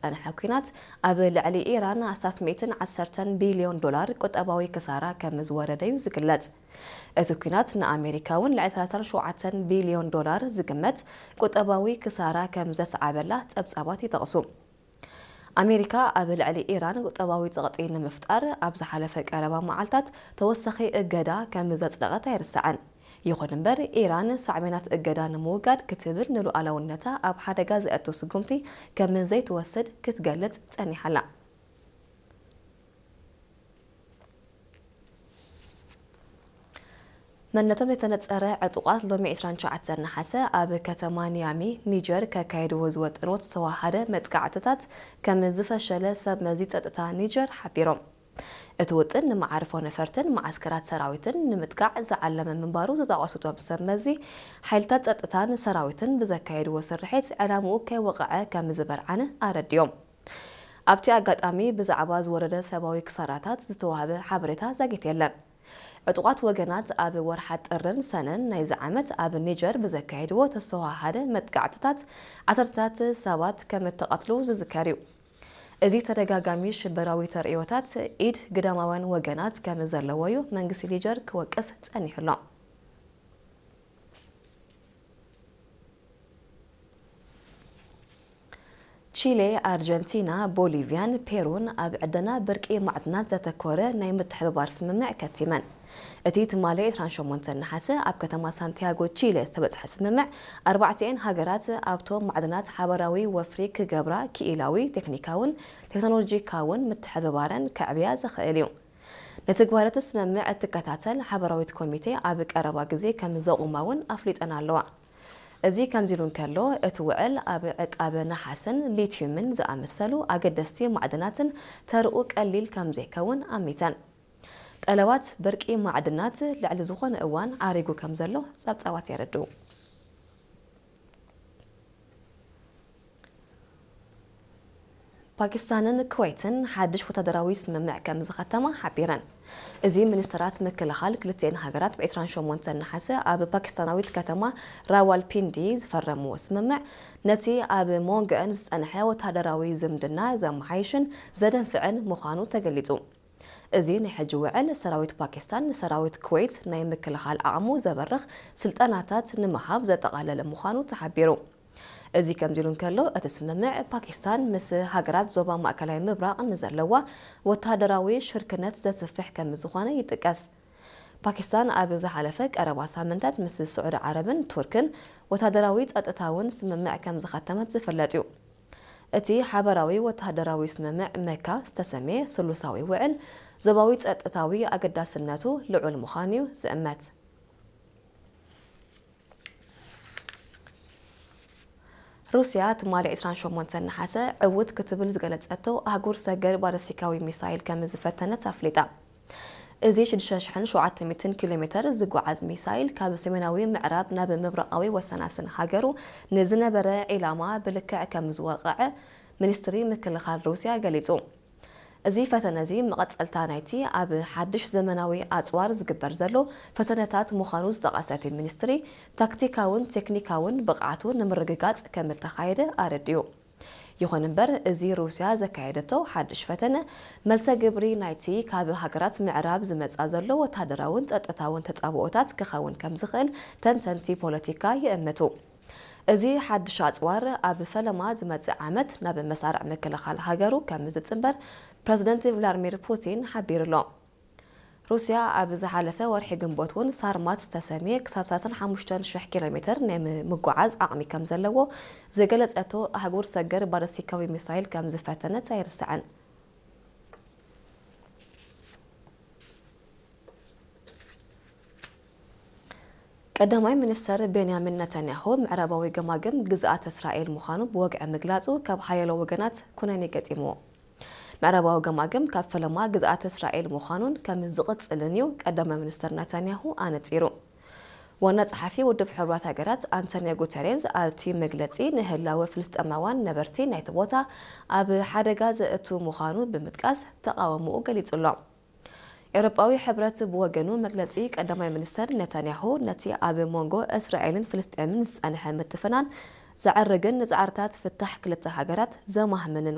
ዝጸንሐ ኲናት ኣብ ልዕሊ ኢራን ኣስታት ሚእትን ዓሰርተን ቢልዮን ዶላር ቁጠባዊ ክሳራ ከም ዝወረደ እዩ ዝግለጽ። እቲ ኲናት ንኣሜሪካ እውን ልዕሊ ሰላሳን ሸውዓተን ቢልዮን ዶላር ዝግመት ቁጠባዊ ክሳራ ከም ዘስዓበላ ጸብጻባት ይጠቕሱ። ኣሜሪካ ኣብ ልዕሊ ኢራን ቁጠባዊ ጸቕጢ ንምፍጣር ኣብ ዝሓለፈ ቀረባ መዓልታት ተወሳኺ እገዳ ከም ዘጽደቐት ኣይርሳዕን። ይኹን እምበር፣ ኢራን ሳዕቤናት እገዳ ንምውጋድ ክትብል ንሉዓላውነታ ኣብ ሓደጋ ዘእቱ ስጉምቲ ከም ዘይትወስድ ክትገልጽ ጸኒሓ ኣላ። መንነቶም ዘይተነጸረ ዕጡቓት ሎሚ ዕስራን ትሽዓተን ነሓሰ ኣብ ከተማ ኒያሚ፣ ኒጀር፣ ከካይድዎ ዝወጠንዎ ዝተወሃደ መጥቃዕትታት ከም ዝፈሸለ ሰብ መዚ ጸጥታ ኒጀር ሓቢሮም። እቲ ውጥን ንመዓርፎ ነፈርትን መዓስከራት ሰራዊትን ንምጥቃዕ ዝዓለመ ምንባሩ ዝጠቐሱ እቶም ሰብ መዚ፣ ሓይልታት ጸጥታን ሰራዊትን ብዘካየድዎ ስርሒት ዕላምኡ ከይወቕዐ ከም ዝበርዓነ ኣረዲኦም። ኣብቲ ኣጋጣሚ ብዛዕባ ዝወረደ ሰብኣዊ ክሳራታት ዝተዋህበ ሓበሬታ ዛጊት የለን። ዕጡቓት ወገናት ኣብ ወርሓት ጥርን ሰነን ናይዚ ዓመት ኣብ ኒጀር ብዘካየድዎ ተስተውሃደ መጥቃዕትታት ዓሰርተታት ሰባት ከም እተቐትሉ ዝዝከር እዩ። እዚ ተደጋጋሚ ሽበራዊ ተርእዮታት ኢድ ግዳማውያን ወገናት ከም ዘለዎ እዩ መንግስቲ ኒጀር ክወቅስ ጸኒሑ ኣሎ። ቺሌ፣ ኣርጀንቲና፣ ቦሊቪያን ፔሩን ኣብ ዕደና ብርቂ ማዕድናት ዘተኮረ ናይ ምትሕብባር ስምምዕ ከቲመን። እቲ ትማሊ ዕስራን ሸሞንተን ነሓሰ ኣብ ከተማ ሳንቲያጎ ቺሌ ዝተበጽሐ ስምምዕ፣ ኣርባዕቲኤን ሃገራት ኣብቶም ማዕድናት ሓባራዊ ወፍሪ ክገብራ ክኢላዊ፣ ቴክኒካውን ቴክኖሎጂካውን ምትሕብባረን ከዕብያ ዘኽእል እዩ። ንትግባረቲ ስምምዕ እትከታተል ሓባራዊት ኮሚቴ ኣብ ቀረባ ግዜ ከም ዘቑማ እውን ኣፍሊጠን ኣለዋ። እዚ ከምዚ ኢሉ እንከሎ፣ እቲ ውዕል ኣብ ዕቃበ ነሓስን ሊትዩምን ዝኣመሰሉ ኣገደስቲ ማዕድናትን ተርኡ ቀሊል ከም ዘይከውን ኣሚተን። ጠለባት ብርቂ ማዕድናት ልዕሊ ዝኾነ እዋን ዓሪጉ ከም ዘሎ ጸብጻባት የረድኡ። ፓኪስታንን ኩወይትን ሓድሽ ወታደራዊ ስምምዕ ከም ዝኸተማ ሓቢረን። እዚ ሚኒስትራት ምክልኻል ክልቲኤን ሃገራት ብ ዕስራን ሸሞንተን ነሓሰ ኣብ ፓኪስታናዊት ከተማ ራዋልፒንዲ ዝፈረምዎ ስምምዕ፣ ነቲ ኣብ መንጎአን ዝጸንሐ ወታደራዊ ዝምድና ዘመሓይሽን ዘደንፍዕን ምዃኑ ተገሊጹ። እዚ ናይ ሕጂ ውዕል፣ ሰራዊት ፓኪስታን ንሰራዊት ኩወይት ናይ ምክልኻል ዓቕሙ ዘበርኽ ስልጠናታት ንምሃብ ዘጠቓለለ ምዃኑ ተሓቢሩ። እዚ ከምዚ ኢሉ እንከሎ፣ እቲ ስምምዕ ፓኪስታን ምስ ሃገራት ዞባ ማእከላይ ምብራቕ ንዘለዋ ወታደራዊ ሽርክነት ዘስፍሕ ከም ዝኾነ ይጥቀስ። ፓኪስታን ኣብ ዝሓለፈ ቀረባ ሳምንታት ምስ ስዑዲ ዓረብን ቱርክን ወታደራዊ ጸጥታውን ስምምዕ ከም ዝኸተመት ዝፍለጥ እዩ። እቲ ሓበራዊ ወተሃደራዊ ስምምዕ መካ ዝተሰምየ ስሉሳዊ ውዕል፣ ዞባዊ ጸጥታዊ ኣገዳስነቱ ልዑል ምዃኑ እዩ ዝእመት። ሩስያ ትማሊ ዕስራን ሸሞንተን ነሓሰ ዕውት ክትብል ዝገለጸቶ ኣህጉር ሰገር ባለስቲካዊ ሚሳይል ከም ዝፈተነት ኣፍሊጣ። እዚ ሽዱሽተ ሽሕን ሸውዓተ ሚእትን ኪሎ ሜተር ዝጓዓዝ ሚሳይል ካብ ሰሜናዊ ምዕራብ ናብ ምብራቓዊ ወሰናስን ሃገሩ ንዝነበረ ዒላማ ብልክዕ ከም ዝወቕዐ ሚኒስትሪ ምክልኻል ሩስያ ገሊጹ። እዚ ፈተነ እዚ መቐጸልታ ናይቲ ኣብ ሓድሽ ዘመናዊ ኣጽዋር ዝግበር ዘሎ ፈተነታት ምዃኑ ዝጠቐሰ እቲ ሚኒስትሪ፣ ታክቲካውን ቴክኒካውን ብቕዓቱ ንምርግጋጽ ከም እተኻየደ ኣረዲኡ። ይኹን እምበር፣ እዚ ሩስያ ዘካየደቶ ሓድሽ ፈተነ፣ መልሰ ግብሪ ናይቲ ካብ ሃገራት ምዕራብ ዝመጻ ዘሎ ወታደራውን ጸጥታውን ተጻብኦታት ክኸውን ከም ዝኽእል ተንተንቲ ፖለቲካ ይእምቱ። እዚ ሓድሽ ኣጽዋር፣ ኣብ ፈለማ ዝመጽእ ዓመት ናብ መሳርዕ ምክልኻል ሃገሩ ከም ዝጽንበር ፕረዚደንት ቭላድሚር ፑቲን ሓቢሩ ኣሎ። ሩስያ ኣብ ዝሓለፈ ወርሒ ግንቦት እውን ሳርማት ዝተሰምየ ክሳብ ሰላሳን ሓሙሽተን ሽሕ ኪሎ ሜተር ናይ ም-፣ ምጉዓዝ ዓቕሚ ከም ዘለዎ ዝገለጸቶ ኣህጉር ሰገር ባለስቲካዊ ሚሳይል ከም ዝፈተነት ኣይርሳዕን። ቀዳማይ ሚኒስተር ቤንያሚን ነታንያሁ፣ ምዕራባዊ ገማግም ግዝኣት እስራኤል ምዃኑ ብወግዒ ምግላጹ ካብ ሓያሎ ወገናት ኩነኔ ገጢምዎ። ምዕራባዊ ገማግም ካብ ፈለማ ግዝኣት እስራኤል ምዃኑን ከም ዝቕጽልን እዩ ቀዳማይ ሚኒስተር ነታንያሁ ኣነጺሩ። ዋና ጸሓፊ ውድብ ሕቡራት ሃገራት ኣንቶኒዮ ጉተሬዝ ኣብቲ መግለጺ፣ ንህላወ ፍልስጤማውያን ነበርቲ ናይቲ ቦታ ኣብ ሓደጋ ዘእቱ ምዃኑ ብምጥቃስ ተቓውሞኡ ገሊጹ ኣሎ። ኤውሮጳዊ ሕብረት ብወገኑ፣ መግለጺ ቀዳማይ ሚኒስተር ኔታንያሁ ነቲ ኣብ መንጎ እስራኤልን ፍልስጤምን ዝጸንሐ ምትፍናን ዘዕርግን ንጻዕርታት ፍታሕ ክልተ ሃገራት ዘማህምንን